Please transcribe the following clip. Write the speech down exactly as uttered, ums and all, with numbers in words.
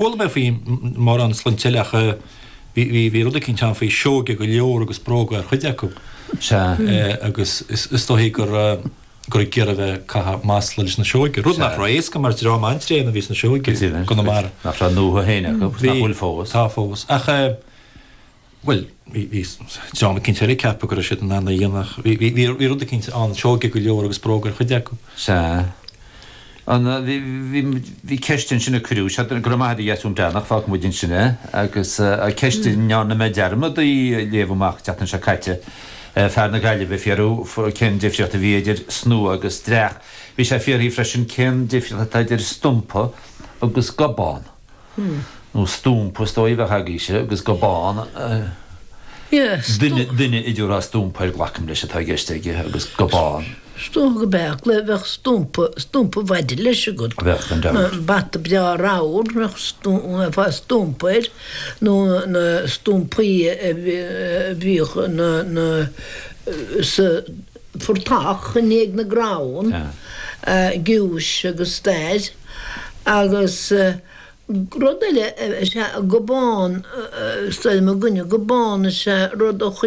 Chuala mé faoi mórán sloinnte eile ach bhí bhí bhí rud eicínt ann faoi Seoige go leor agus bróga ar chuid acu. Sea. Agus is is dóichí gur gur ag iarraidh a bheith ag caitheamh masla leis na Seoige, rud nach raibh éasca mar dream an-tréan a bhí sna Seoige i gConamara. Nach raibh a ndúiche féin acu, agus nach bhfuil fós. Tá fós. Ach bhuel, bhí bhí dream eicínt eile ag ceapadh go raibh siad in ann é a dhéanamh ach bhí bhí bhí rud eicínt ann, Seoige go leor agus bróga ar chuid acu. Sea. An, bhí bhí bhí ceist ansin a cuireadh, sea, go raibh maith agat a Dheasún Breathnach, fágfaidh muid ansin é, agus ceist a ndearna mé dearmad í a léamh amach an tseachtain seo caite, fear na Gaillimhe ag fiafraí cén difríocht a bhí idir snua agus dreach. Bhí sé ag fiafraí freisin cén difríocht atá idir stumpa agus gobán. Nó stúmpa is dóigh a bheadh agaibhse agus gobán. Duine, duine a dtabharfá stúmpa air glacaim leis atá i gceist aige agus gobán. Is dócha go mbeadh, le bheadh stúmpa, stúmpa mhaide leis agat. Bheadh, gan dabht. Bata breá ramhar, bheadh bheifeá stúmpa air, nó na stúmpaí a bhíodh na, na, sa phortach i ndiaidh na gcrann, giúis agus stair agus. Rud eile is ea gobán, is dóigh liom againne, gobán is ea rud a.